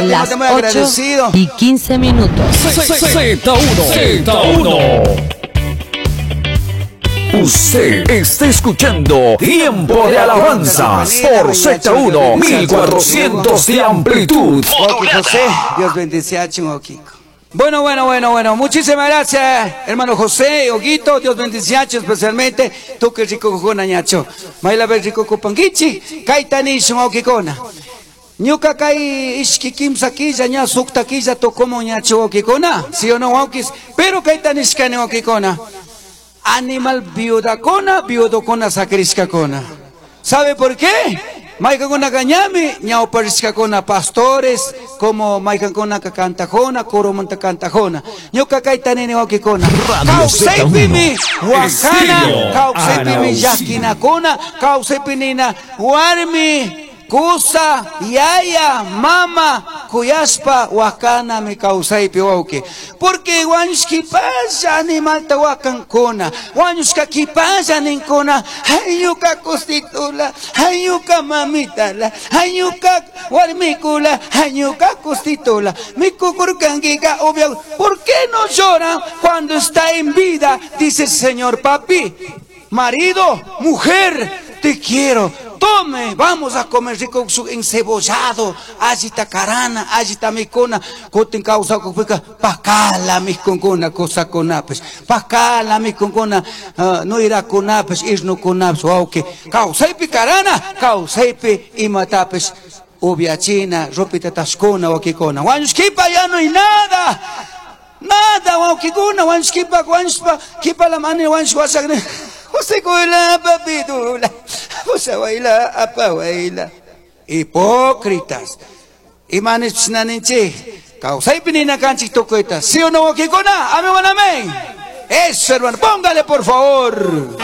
Las muy agradecido. 8 y 15 minutos. Z1 Z1. Usted está escuchando Tiempo de Alabanzas por Z1 1400 de amplitud. José, Dios bendice a Bueno, bueno, bueno, bueno. Muchísimas gracias, hermano José, Oguito. Dios bendice especialmente. Tú que rico cojona, ñacho. Maila rico copanguichi. Kaitani shungokikona. Ñuka kay ishki kimsa killa ña sukta killa tocomo ñacho okikona. ¿Sí o no, okis? Pero kayta nishkani okikona. Animal viudakona, viudokona sacriskakona. ¿Sabe por qué? Maykankuna ñami, ñawparishkakuna pastores, como maykankuna cantajona, coromanta cantajona. Ñuka kayta nini wakikuna. Kawsaypimi wakana, kawsaypimi llakinakuna, kawsaypi nina warmi, kusa, yaya, mama, kuyashpa wakana mi kawsaypi wawki. Porque wañushkipalla animalta wakankuna, wañushkakipalla ninkuna, hayuka kustitula, hayuka mamitala, hayuka warmikula, hayuka kustitula. Mikukurkankiqa obvio, ¿por qué no lloran cuando está en vida? Dice el Señor, papi, marido, mujer, te quiero. Tome, vamos a comer rico su encebollado, allita carana, allita mikuna, kutin causa kupika, pakala mikunkuna, cosa kunapes, pakala mikunkuna, no irá kunapes, irno kunapes, wauki, kausaipi karana, kausaipi imatapes, ubiachina, ropita tashkuna, wakikuna, wañushkipa ya no hay nada. Nada, wawkikuna, wañushkipa, wañushpa, kipa la mani, wañush wasakne. José kula papitula, José waila apa waila. Hipócritas. Imanes psinaninchi. Kawsaypi ninakanchik tukuyta. ¿Sí o no, wawkikuna? Amén, amén. Eso, hermano. Póngale, por favor.